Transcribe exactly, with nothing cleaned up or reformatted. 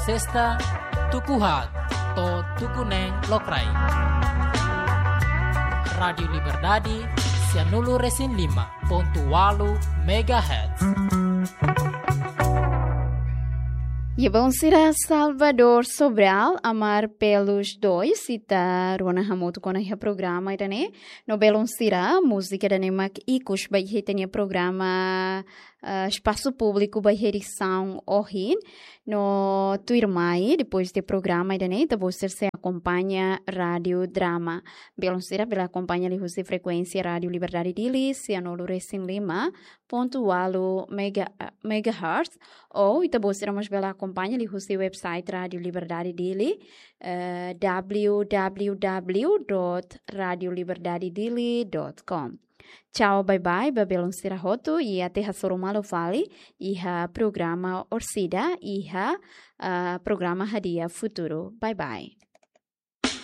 Sesta, tuku haat to'o tuku neen lokraik. Rádiu Liberdade, sianulu-resin-lima pontu ualu megahertz. Iha balun sira, Salvador Sobral, Amar pelos Dois, ita rona hamutuk ona iha programa ida-ne'e. No balun sira, múzika ida-ne'e mak ikus ba iha ita-nia programa, ah, Espasu Públiku ba iha edisaun ohin. No tuirmai, depois de programa ida-ne'e, ita-boot sira sei akompaña Rádiu Drama. Balun sira bele akompaña liuhusi frekuénsia Rádiu Liberdade Dili, sianulu-resin-lima pontu ualu mega-, megahertz, ou ita-boot sira mós bele akompaña liuhusi website Rádiu Liberdade Dili, eh, w w w dot radio liberdade dili dot com. Tchau, bye bye, ba balun sira hotu, i até hasoru malu fali iha programa orsida, iha, ah, programa Hadi'a Futuru. Bye bye.